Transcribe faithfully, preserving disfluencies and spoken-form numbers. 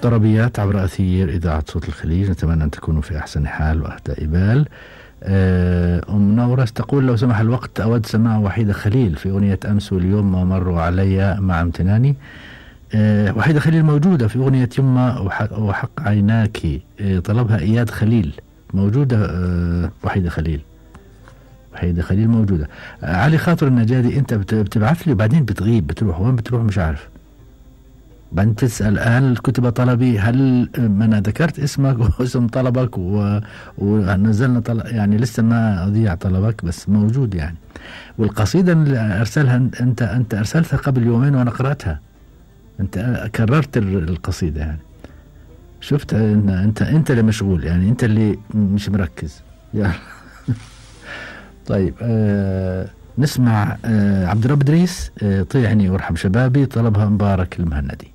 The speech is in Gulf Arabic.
طربيات عبر أثير إذاعة صوت الخليج، نتمنى أن تكونوا في أحسن حال وأهدى بال. أم نورس تقول لو سمح الوقت أود سماع وحيدة خليل في أغنية أمس واليوم ما مروا علي مع امتناني. أه وحيدة خليل موجودة في أغنية يما وحق عيناك، أه طلبها إياد خليل، موجودة. أه وحيدة خليل وحيدة خليل موجودة. أه علي خاطر النجادي أنت بتبعث لي وبعدين بتغيب، بتروح وين بتروح مش عارف، بعدين تسأل هل كتب طلبي، هل ما أنا ذكرت اسمك واسم طلبك و... ونزلنا طلب، يعني لسه ما أضيع طلبك بس موجود يعني. والقصيدة اللي أرسلها أنت أنت أرسلتها قبل يومين وأنا قرأتها، أنت كررت القصيدة يعني. شفت إن أنت أنت اللي مشغول يعني، أنت اللي مش مركز يعني. طيب آه نسمع آه عبد الرب إدريس، آه طيعني وارحم شبابي، طلبها مبارك المهندي.